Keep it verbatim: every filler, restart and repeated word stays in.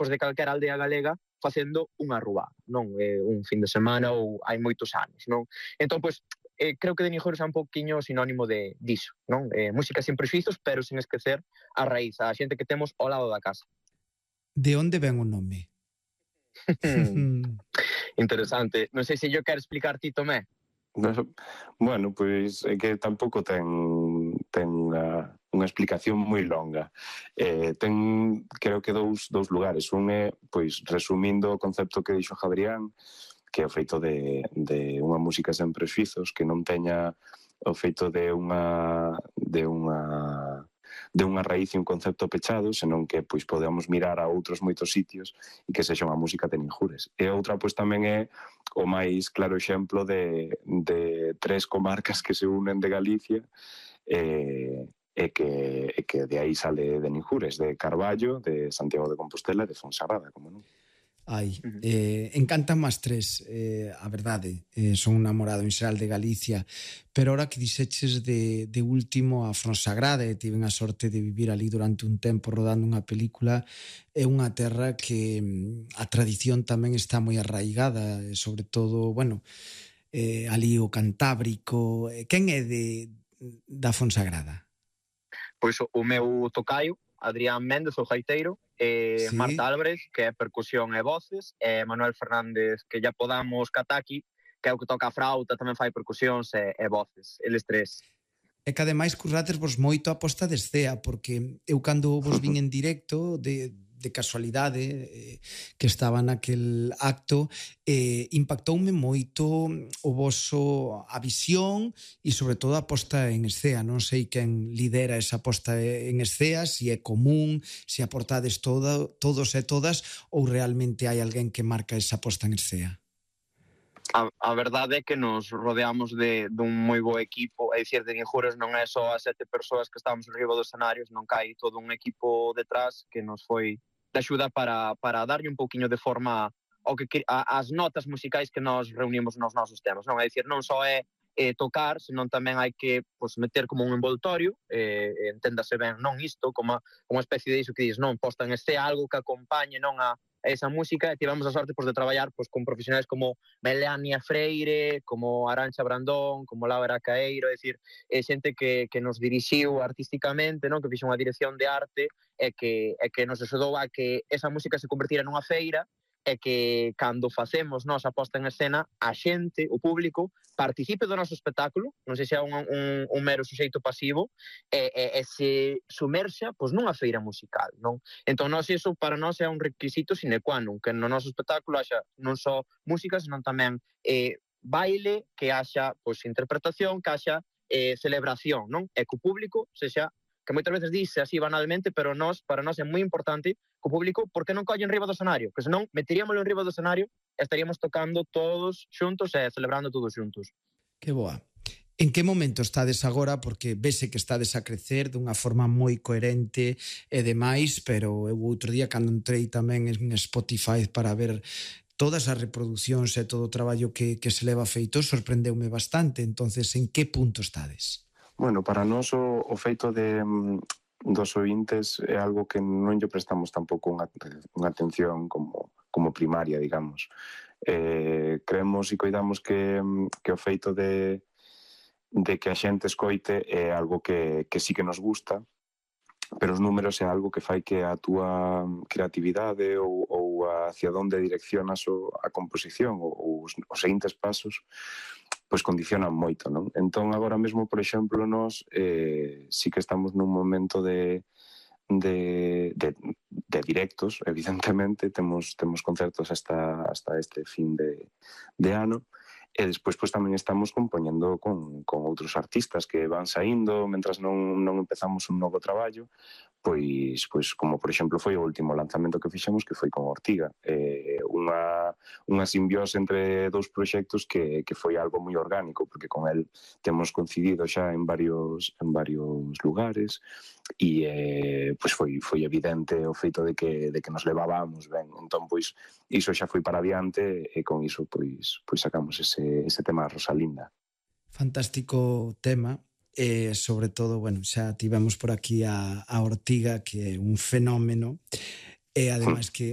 pois, de calquera aldea galega facendo unha rúa, non? Eh, un fin de semana ou hai moitos anos, non? Entón, pois, eh, creo que Denijores é un pouquiño sinónimo de diso, non? Eh, música sin prexuizos, pero sin esquecer a raíz, a xente que temos ao lado da casa. De onde ven o nome? Interesante. Non sei se yo quero explicar ti, Tomé. Bueno, pois é que tampouco ten ten unha, unha explicación moi longa. Eh, ten, creo que dous, dous lugares. Un é, pois, resumindo o concepto que dixo Jabrián, que é o feito de, de unha música sen prexuizos, que non teña o feito de unha de unha de unha raíz e un concepto pechado, senón que pois podemos mirar a outros moitos sitios e que sexa unha música de Ninjures. E outra pois tamén é o máis claro exemplo de, de tres comarcas que se unen de Galicia e, e, que, e que de aí sale de Ninjures, de Carballo, de Santiago de Compostela e de Fonsagrada, como non? Ai, eh, encantan as tres, eh, a verdade, eh, son un namorado en xeral de Galicia, pero ahora que dixeches de, de último a Fonsagrada, e tiven a sorte de vivir ali durante un tempo rodando unha película, é unha terra que a tradición tamén está moi arraigada, sobre todo, bueno, eh, ali o Cantábrico. Quen é de, da Fonsagrada? Pois o, o meu tocaio, Adrián Méndez, o gaiteiro, eh, sí. Marta Álvarez, que é percusión e voces, e Manuel Fernández, que ya podamos cataki, que é o que toca a frauta, tamén fai percusións e, e voces, eles tres. E que ademais currates vos moito a posta de escea, porque eu cando vos vin en directo de, de casualidade eh, que estaba naquel acto, eh, impactoume moito o voso a visión e sobre todo a posta en escea. Non sei quen lidera esa posta en escea, se é común, se aportades todo, todos e todas, ou realmente hai alguén que marca esa posta en escea. A, a verdade é que nos rodeamos de, de un moi bo equipo, é dicir, de Ninjures non é só as sete persoas que estamos arriba dos escenarios, non que hai todo un equipo detrás que nos foi de axuda para, para darlle un pouquiño de forma ao que, a, as notas musicais que nos reunimos nos nosos temas, non? É dicir, non só é eh, tocar, senón tamén hai que pues, meter como un envoltorio, eh, enténdase ben, non isto, como unha especie de iso que dices, non, posta en este algo que acompañe non a esa música, e tivemos a sorte pues, de traballar pues, con profesionais como Melania Freire, como Arancha Brandón, como Laura Caeiro, é dicir, é xente que, que nos dirixiu artísticamente, non? Que fixo unha dirección de arte e que, e que nos axudou a que esa música se convertira nunha feira e que cando facemos nos a posta en escena, a xente, o público, participe do noso espectáculo, non sei se é un, un, un mero suxeito pasivo, e, e, e se sumerxa pois, nunha feira musical, non? Entón, nós, iso para nós é un requisito sine qua non, que no noso espectáculo haxa non só música, senón tamén eh, baile, que haxa pois, interpretación, que haxa eh, celebración, non? E que o público sexa, que moitas veces dice así banalmente, pero nós, para nós é moi importante que o público, porque non collen riba do escenario? Que senón meteríamoslo en riba do escenario e estaríamos tocando todos xuntos e celebrando todos xuntos. Que boa. En que momento estades agora? Porque vese que estades a crecer dunha forma moi coherente e demais, pero eu outro día cando entrei tamén en Spotify para ver todas as reproduccións e todo o traballo que, que se leva feito, sorprendeume bastante. Entonces, en que punto estades? Bueno, para nós o, o feito de dos ointes é algo que non lle prestamos tampouco unha, unha atención como, como primaria, digamos. Eh, creemos e coidamos que, que o feito de, de que a xente escoite é algo que, que sí que nos gusta, pero os números é algo que fai que a túa creatividade ou, ou hacia onde direccionas o, a composición ou os, os seguintes pasos pois condicionan moito, non? Entón, agora mesmo, por exemplo, nós eh, sí que estamos nun momento de, de, de, de directos, evidentemente, temos, temos concertos hasta, hasta este fin de, de ano, e despois pois, tamén estamos compoñendo con, con outros artistas que van saindo, mentras non, non empezamos un novo traballo, pois, pois como por exemplo foi o último lanzamento que fixemos, que foi con Ortiga, eh, unha, unha simbiose entre dous proxectos que, que foi algo moi orgánico, porque con el temos coincidido xa en varios, en varios lugares, e eh, pois foi, foi evidente o feito de que, de que nos levábamos ben, entón pois iso xa foi para adiante e con iso pois, pois sacamos ese, ese tema Rosalinda. Fantástico tema. E sobre todo, bueno, xa tivemos por aquí a, a Ortiga, que é un fenómeno, e ademais que